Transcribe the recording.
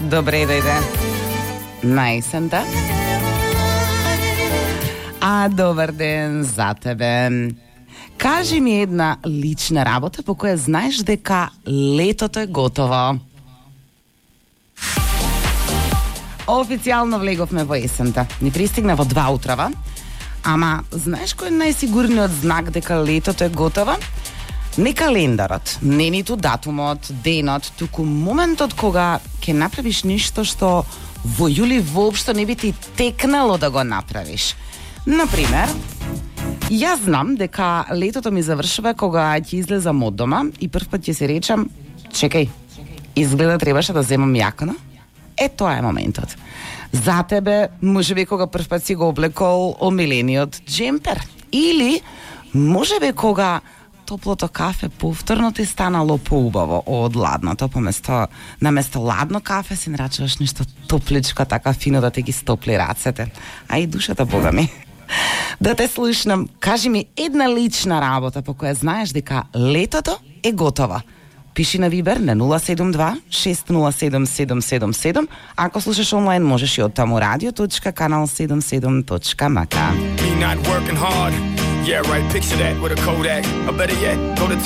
Добре дојде на есента. А добар ден за тебе. Кажи ми една лична работа по која знаеш дека летото е готово. Официјално влеговме во есента. Ни пристигна во 2 утрава. Ама знаеш кој е најсигурниот знак дека летото е готово? Не календарот, не ниту датумот, денот, туку моментот кога ќе направиш нешто што во јули воопшто не би ти текнало да го направиш. Например, јас знам дека летото ми завршува кога ќе излезам од дома и првпат ќе се речам, чекај, изгледа требаше да земам јакна. Тоа е моментот. За тебе, можеби кога првпат си го облекол омилениот джемпер. Или, можеби кога топлото кафе повторно ти станало поубаво од ладното, наместо ладно кафе си нарачуваш нешто топличко, така фино да те ги стопли рацете. А и душата, бога ми. Да те слушнам, кажи ми една лична работа по која знаеш дека летото е готова. Пиши на Вибер на 072-607-777. Ако слушаш онлайн, можеш и од таму radio.kanal77.mk. Me not working hard. Yeah, right, picture that with a Kodak. Or better yet, go to